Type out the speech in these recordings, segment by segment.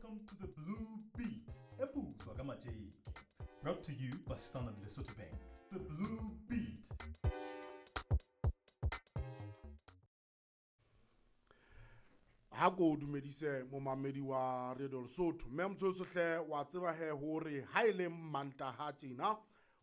Welcome to the Blue Beat, e putswa ka matjeke. Brought to you by Standard Lesotho Bank. The Blue Beat. Ha ko dumedise momamedi wa Radio Lesotho. Mme motho hle wa tseba he hore ha e le Mantaha tjena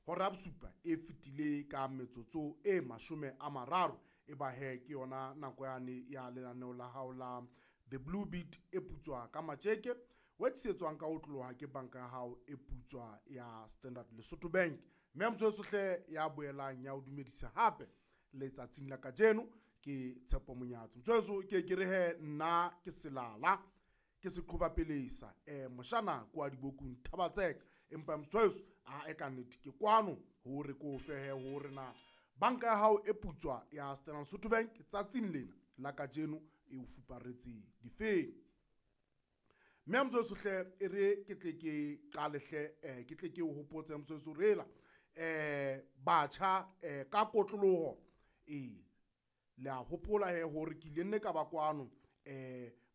hora ya bosupa e fetile ka metsotso e 30, e ba he ke yona nako yane ya lenaneo la hao la The Blue Beat e putswa ka matjeke, o tlisetswang ka ho tloha ke banka ya hao e putswa ya Standard Lesotho Bank. Mme motho hle ya boelang ya o dumedisa hape letsatsing la kajeno ke Tshepo Monyatsi. Motho ke re he nna ke selala ke seqhoba pelesa moshana kwa dibokung Thabatseka, empa motho a e ka nnete ke kwano hore ko fehe hore na banka ya hao e putswa ya Standard Lesotho Bank tsatsing lena la kajeno e o fuparetse difeng. Mme motho hle e re ke tle ke qale hle ke tle ke o hopotse motho rela batjha ka kotloloho le a hopola he hore ke ile nne ka ba kwano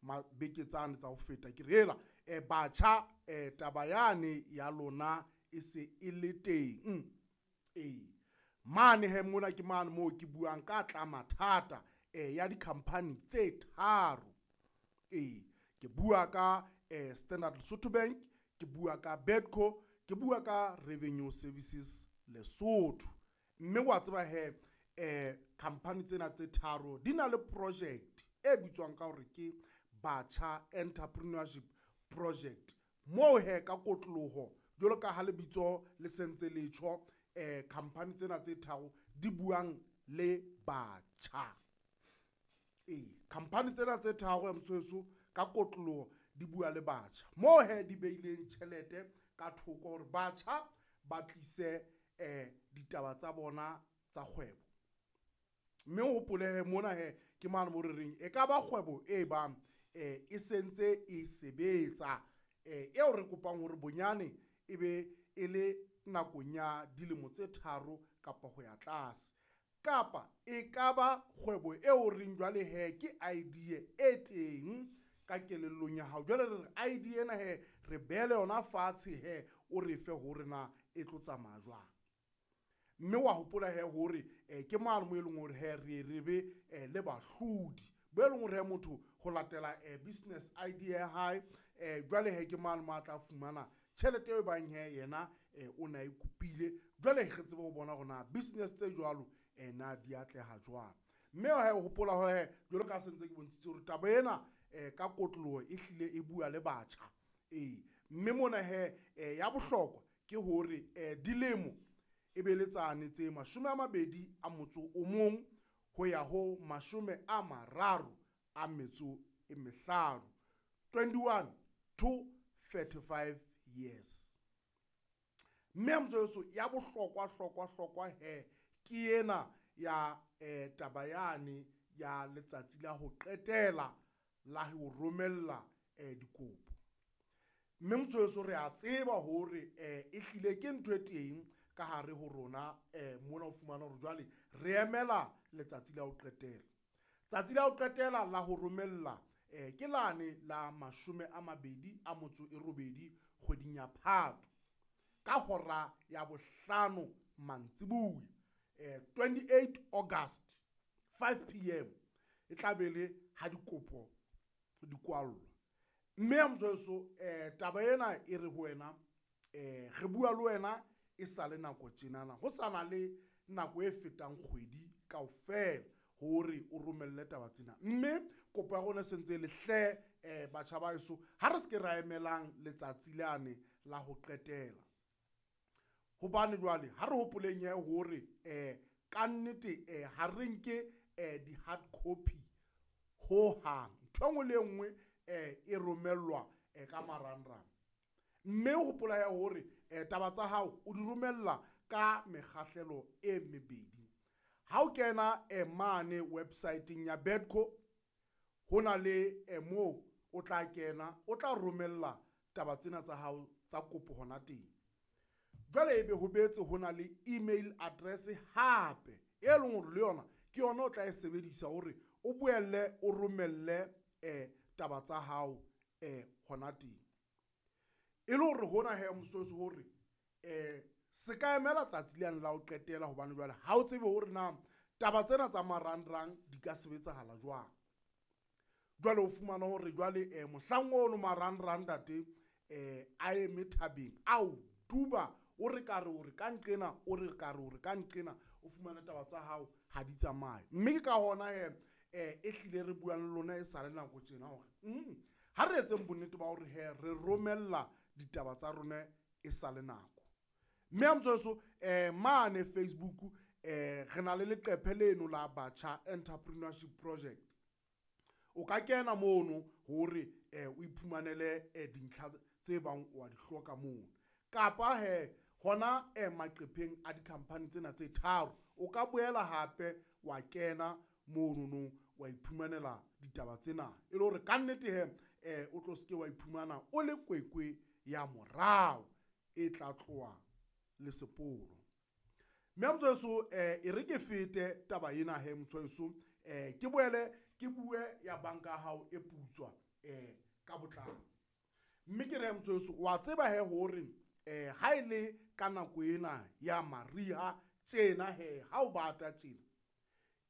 mabeke tsane tsa ho feta ke rela batjha taba yane ya lona e se e le teng. Mane he mona ke mane moo ke buang ka tla mathata ya di-company tse tharo. Ke bua ka Standard Lesotho Bank, ke bua ka Bedco, ke bua ka Revenue Services Lesotho. Mme wa tseba he company tsena tse tharo di na le project e bitswang ka hore ke Batjha Entrepreneurship Project, moo he ka kotloloho jwalo ka ha lebitso le sentse le tjho, company tsena tse tharo di buang le batjha. Company tsena tse tharo motshweso ka kotloloho di bua le batjha, moo he di beileng tjhelete ka thoko hore batjha ba tlise ditaba tsa bona tsa kgwebo. Mme o hopole he mona he ke mane mo re reng e ka ba kgwebo e bang e sentse e sebetsa, eo re kopang hore bonyane e be e le nakong ya dilemo tse 3 kapa ho ya tlase, kapa e ka ba kgwebo eo reng jwale he ke idea e teng ka kelellong ya hao. Jwale re re idea ena he re beele yona fatshe he o re fe hore na e tlo tsamaya jwang. Mme wa hopola he hore ke mane mo e leng hore he re be le bahlodi bo e leng hore he motho ho latela business idea ya hae, jwale he ke mane mo a tla fumana tjhelete eo bang he yena o na e kopile. Jwale re tsebe ho bona hore na business tse jwalo na di atleha jwang. Mme he hopola hore he jwalo ka sentse ke bontshitse hore taba ena ka kotloloho e hlile e bua le batjha. Mme mona he ya bohlokwa ke hore dilemo e be le tsane tse 21 ho ya ho 35, 21 to 35 years. Mme motsoso ya bohlokwa hlokwa hlokwa he ke ena ya taba yane ya letsatsi la ho qetela la ho romella dikopo. Mme motsoso re a tseba hore e hlile ke ntho e teng ka hare ho rona mona o fumana hore jwale re emela letsatsi la ho qetela. Tsatsi la ho qetela la ho romella ke lane la 28 kgweding ya Phato ka hora ya 5 mantsibuya, 28 August 5 p.m. e tla be le ha dikopo di kwallwa. Mme motsoso taba ena e re ho wena re bua le wena e sale nako tjenana, ho sana le nako e fetang kgwedi kaofela hore o romelle taba tsena. Mme kopo ya rona e sentse le hle batjha ba heso, ha re se ke ra emelang letsatsi lane la ho qetela, hobane jwale ha re hopoleng he hore ka nnete ha re nke di-hard copy ho hang. Ntho e nngwe le e nngwe e romellwa ka marangrang. Mme hopola ya hore taba tsa hao o di romella ka mekgahlelo e mebedi. Ha o kena mane website-eng ya Bedco, ho na le moo o tla kena o tla romella taba tsena tsa hao tsa kopo hona teng. Jwale ebe ho betse ho na le email address hape e leng hore le yona ke yona o tla e sebedisa hore o boelle o romelle taba tsa hao hona teng. E le hore hona he mososo hore se ka emela tsatsi lane la ho qetela, hobane jwale ha o tsebe hore na taba tsena tsa marangrang di ka sebetsahala jwang. Jwale o fumana hore jwale mohlang ono marangrang ntate a eme thabeng, ao duba, o re ka re o re ka nqena, o re ka re o re ka nqena, o fumane taba tsa hao ha di tsamaye. Mme ke ka hona he e hlile re buang le lona e sale nako tjena hore ha re etseng bonnete ba hore he re romella ditaba tsa rona e sale nako. Mme ya motsweso mane Facebook re na le leqephe leno la Batjha Entrepreneurship Project. O ka kena mono hore o iphumanele dintlha tse bang wa di hloka mono. Kapa he hona maqepheng a di-company tsena tse tharo, o ka boela hape wa kena monono wa iphumanela ditaba tsena, e le hore ka nnete he o tlo seke wa iphumana o le kwekwe ya morao e tla tloha le seporo. Mme motsweso e re ke fete taba ena he motsweso, ke boele ke bue ya banka ya hao e putswa ka botlalo. Mme ke re motsweso, wa tseba he hore ha e le ka nako ena ya mariha tjena he, ha o bata tjena,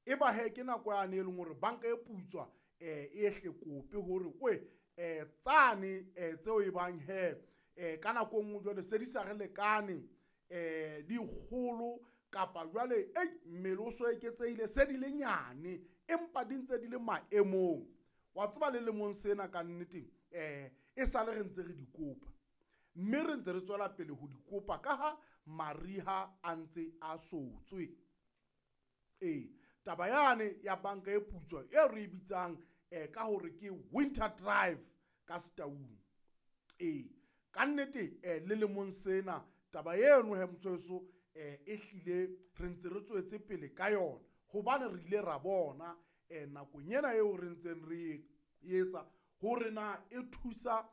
e ba he ke nako yane e leng hore banka e putswa e hle kope hore oe tsane tseo e bang he ka nako e nngwe jwale se di sa re lekane, di kgolo kapa jwale mmele o so eketsehile, se di le nyane empa di ntse di le maemong. Wa tseba le lemong sena ka nnete e sale re ntse re di kopa, mme re ntse re tswela pele ho di kopa ka ha mariha a ntse a sotswe. Taba yane ya banka e putswa e re e bitsang ka hore ke winter drive ka Setaung. Ka nnete le lemong sena taba eno he motsweso e hlile re ntse re tswetse pele ka yona, hobane re ile ra bona nakong ena eo re ntseng re etsa hore na e thusa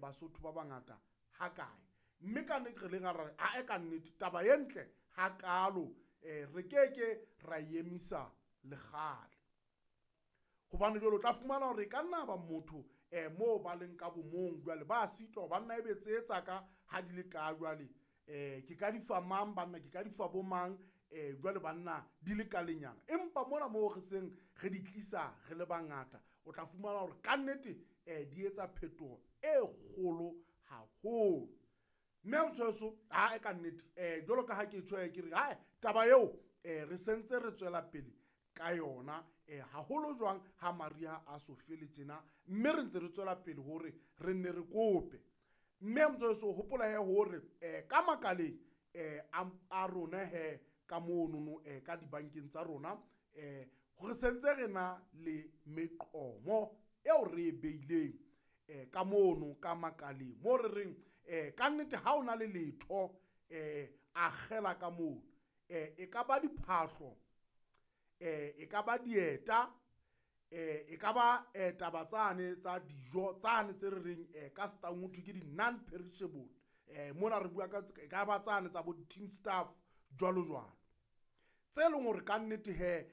Basotho ba bangata hakae. Mme ka nnete re le ra re ae ka nnete taba e ntle hakalo, re keke ra emisa le kgale. Hobane jwale o tla fumana hore e ka nna ba motho moo ba leng ka bomong jwale ba sitwa banna ebe tse tsa ka ha di le ka jwale ke ka di fa mang banna, ke ka di fa bo mang jwale banna di le ka lenyana. Empa mona moo re seng re di tlisa re le bangata, o tla fumana hore ka nnete di etsa phetoho e kgolo haholo. Mme motsweso ha e ka nnete jwalo ka ha ke tjho ke re hae taba eo re sentse re tswela pele ka yona haholo jwang ha mariha a so fele tjena, mme re ntse re tswela pele hore re nne re kope. Mme motsweso hopola he hore ka makaleng a rona he ka monono ka dibankeng tsa rona re sentse re na le meqomo eo re e beileng ka mono ka makaleng mo re reng ka nnete ha ona le letho akgela ka mono, e ka ba diphahlo, e ka ba dieta, e ka ba taba tsane tsa dijo tsane tse re reng ka Setaung ho thwe ke di non perishable, mona re bua ka e ka ba tsane tsa bo team staff jwalo jwalo, tse leng hore ka nnete he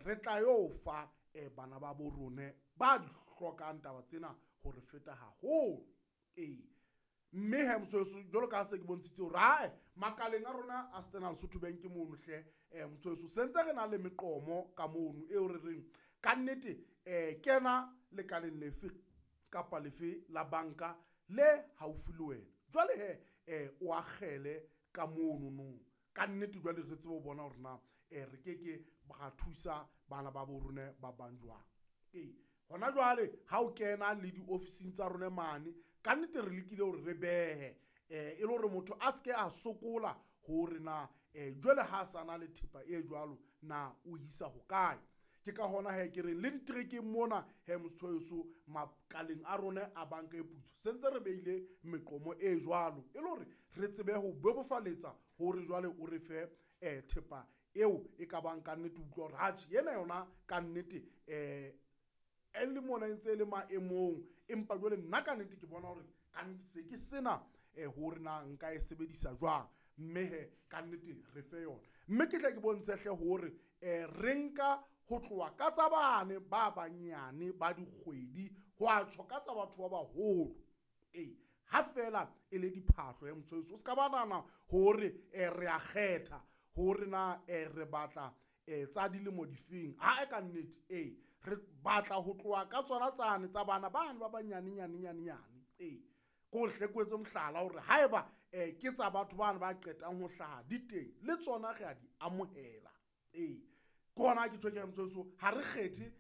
re tla yo fa bana ba bo rone ba di hlokang taba tsena hore feta haholo. Mme he motsweso jwalo ka se ke bontshitse hore hae makaleng a rona a Standard Lesotho Bank mono hle motsweso sentse re na le meqomo ka mono eo re reng ka nnete kena lekaleng lefe kapa lefe la banka le haufi le wena. Jwale he o akgele ka mono no ka nnete jwale re tsebe ho bona hore na re keke ra thusa bana ba bo rona ba bang jwang. Hona jwale ha o kena le diofising tsa rona mane ka nnete re lekile hore re behe e le hore motho a seke a sokola hore na jwale ha sa na le thepa e jwalo na o isa hokae. Ke ka hona he ke reng le diterekeng mona he motsweso makaleng a rona a banka e putswa sentse re beile meqomo e jwalo e le hore re tsebe ho bebofaletsa hore jwale o re fe thepa eo e ka bang ka nnete utlwa hore atjhe ena yona ka nnete e le mona e ntse e le maemong, empa jwale nna ka nnete ke bona hore ka nnete se ke sena hore na nka e sebedisa jwang, mme he ka nnete re fe yona. Mme ke tle ke bontshe hle hore re nka ho tloha ka tsa bane ba banyane ba dikgwedi ho a tjho ka tsa batho ba baholo. Ha feela e le diphahlo ya motho, o ska ba nahana hore re a kgetha hore na re batla tsa dilemo difeng. Ha e ka nnete ee, re batla ho tloha ka tsona tsane tsa bana bane ba banyane nyane nyane nyane. Ee, ke hore hle ke o etse mohlala hore haeba ke tsa batho bana ba qetang ho hlaha di teng, le tsona re a di amohela. Ee, ke hona ke tjho ke re motho, ha re kgethe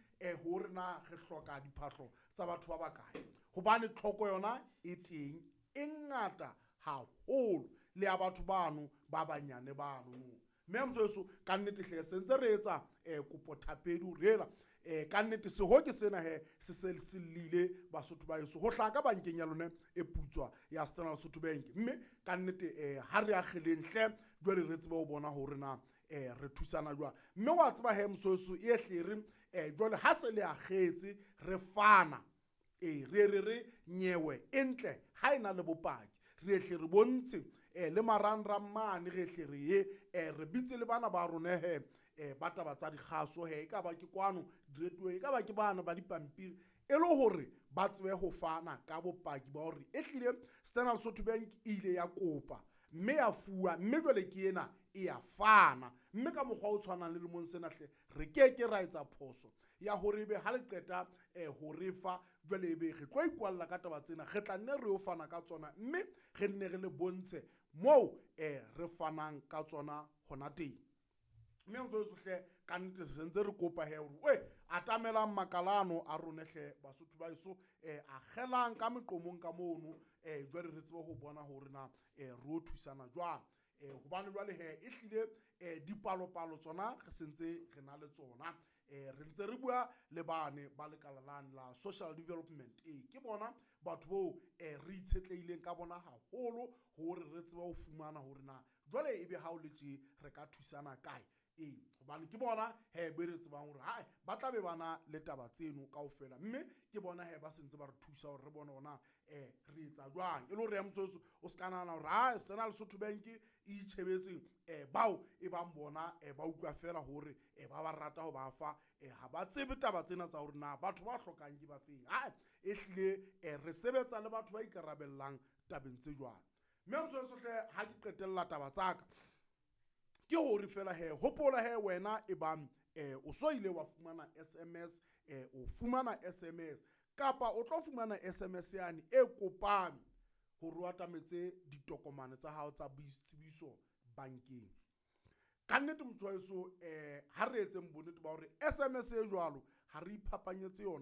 hore na re hloka diphahlo tsa batho ba bakae, hobane tlhoko yona e teng e ngata haholo le ya batho bano ba banyane bano. Mme motho, ka nnete hle se ntse re etsa kopo thapedi hore ela ka nnete seho ke sena he se se se llile Basotho ba heso ho hlaha ka bankeng ya lona e putswa ya Standard Lesotho Bank. Mme ka nnete ha re akgeleng hle jwale re tsebe ho bona hore na re thusana jwang. Mme wa tseba he mososo e hle re jwale ha se le akgetse re fana, ee re re re nyewe e ntle ha ena le bopaki, re hle re bontshe le marangrang mane, re hle re ye re bitse le bana ba rona he ba taba tsa dikgaso he, e ka ba ke kwano diretuweng, e ka ba ke bana ba dipampiri, e le hore ba tsebe ho fana ka bopaki ba hore e hlile Standard Lesotho Bank e ile ya kopa mme ya fuwa, mme jwale ke ena e ya fana. Mme ka mokgwa o tshwanang le lemong sena hle re keke ra etsa phoso ya hore ebe ha le qeta ho re fa jwale ebe re tlo ikwalla ka taba tsena, re tla nne re yo fana ka tsona, mme re nne re le bontshe moo re fanang ka tsona hona teng. Mme motho hle ka nnete se ntse re kopa he hore we atamelang makalano a rona hle Basotho ba heso, akgelang ka meqomong ka mono, jwale re tsebe ho bona hore na re o thusana jwang. Hobane jwale he e hlile dipalopalo tsona re sentse re na le tsona, re ntse re bua le bane ba lekala lane la social development. Ee, ke bona batho boo re itshetlehileng ka bona haholo hore re tsebe ho fumana hore na jwale ebe ha o le tje re ka thusana kae. Ee, hobane ke bona he be re tsebang hore hae ba tla be ba na le taba tseno kaofela, mme ke bona he ba sentse ba re thusa hore re bone hore na re etsa jwang. E le hore ya motho o ska nahana hore ha Standard Lesotho Bank e itjhebetse bao e bang bona ba utlwa fela hore ba ba rata ho ba fa, ha ba tsebe taba tsena tsa hore na batho ba hlokang ke ba feng. Ha e hlile re sebetsa le batho ba ikarabellang tabeng tse jwalo. Mme motho hle ha ke qetella taba tsaka ke hore fela he hopola he wena e bang o so ile wa fumana SMS, o fumana SMS kapa o tlo fumana SMS yane e kopang hore o atametse ditokomane tsa hao tsa boitsebiso bankeng. Ka nnete motho wa heso, ha re etseng bonnete ba hore SMS e jwalo ha re iphapanyetse yona.